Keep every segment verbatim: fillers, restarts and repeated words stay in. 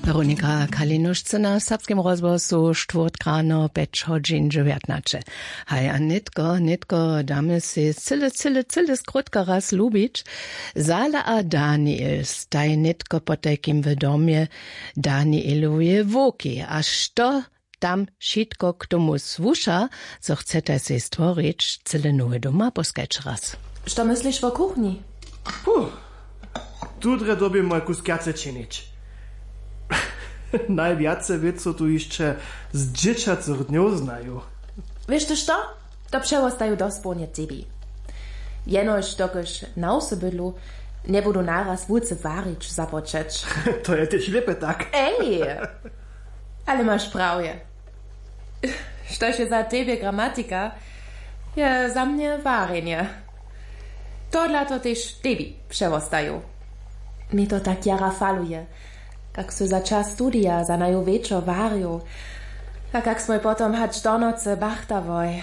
Weronika Kalinowšcy na serbskim rozhłosu, štwórtk rano pjeć hodźin dźewjatnaće. Haj, a nětko nětko damy sej cyle cyle cyle skrótka raz lubić. Zala a daniel staj nětko potajkim w domje danieloweje wowki a što tam wšitko k tomu słuša, zo chcetaj sej stworić cyle nowy doma poskajć raz. Što mysliš wo kuchnji? Huh. Tutre dyrbjemoj kusk wjace činić. Najwjace wěc so tu hišće z dźěćacych dnjow znaju. Wěš ty što? To přewostaju dospołnje tebi. Jenož dokelž na wsy bydlu, njebudu naraz wulce warić započeć. To je tež lěpe tak. Ej. Ale maš prawje. Štož je za tebje gramatika, je za mnje warjenje. Tohodla to tež tebi přewostaju. Mje to tak jara faluje, kak sy za čas studija za naju wječor warił, a kak smoj potom hač do nocy bachtałoj.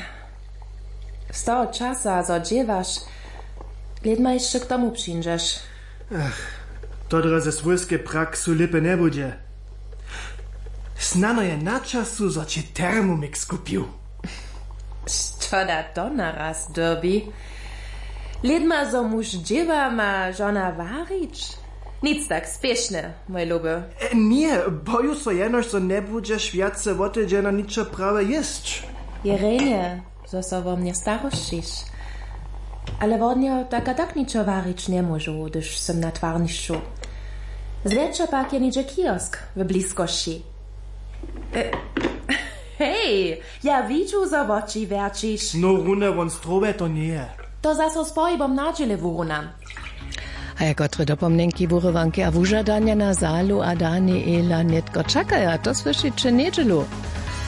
Z toho časa zo dźěłaš, lědma hišće k tomu přińdźeš. Ach, to drje ze swójskej praksu lěpe njebudźe. Snano je na času zo ći termomix kupił. Što da to naraz dyrbi? Lědma zo muž dźěła ma žona warić. Nic tak spěšne, mój luby. Ně, boju so jenož zo njebudźeš wjace wotedźena ničo prawe jěsć. Je rjenje, zo so wo mnje starosćiš. Ale wodnjo tak a tak ničo warić njemóžu hdyž sym na twarnišću. Zwjetša pak je něhdźe kiosk w bliskosći. Hej, ja widźu zo woči wjerćiš. No rune won strowje to njeje. To zaso z pohibom nadźěle wurunam. A ja kotre dopomnjenki wurywanki a wužadanja na zalu a daniela nětko čakaja to słyšiće njedźelu.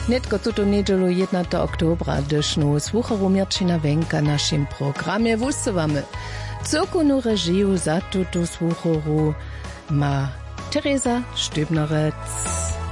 Nětko tutu njedźelu jědnateho oktobra hdyž nowu słuchoru měrćina wjenka w našim programje wusywamy. Cyłkownu režiju za tutu słuchoru ma tereza štybnerec.